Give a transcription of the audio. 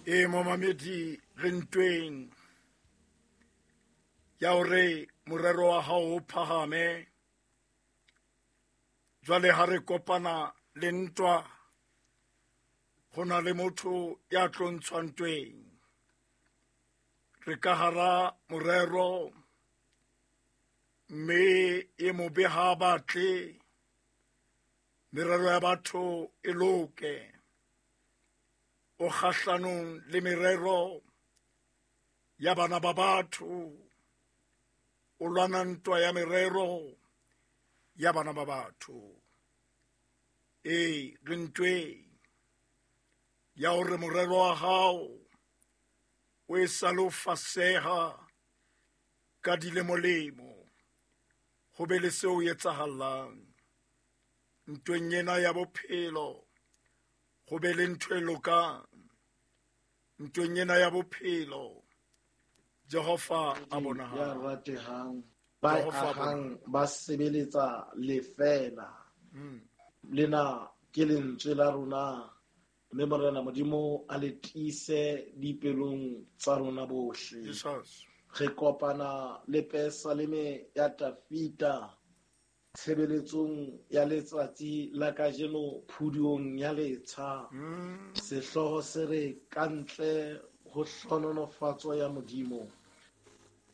E momamedi, re ntweng ya hore morero wa hao o phahame. Jwale ha re kopana le ntwa, ho na le motho ya tlo ntshwa ntweng. Re ka hara morero, mme e mobe ha batle merero ya batho e loke. O kgahlanong le merero ya bana ba batho, o lwana ntwa ya merero ya bana ba batho. Ee, re ntweng ya hore morero wa hao o e sale o faseha ka dilemolemo, ho be le seo etsahalang ntweng ena ya bophelo, ho be le ntho e lokang ntweng ena ya bophelo. Jehova a Ya bonahala. ratehang ba Jehova a ahang ba sebeletsa lefela. Lena ke lentswe la rona, mme Morena Modimo a le tiise dipelong tsa rona bohle. Jesus. Re kopana le Pesaleme ya Tafita tshebeletsong ya letsatsi la kajeno phuduong ya letsha. Sehlooho se re ka ntle ho hlohonolofatso ya Modimo.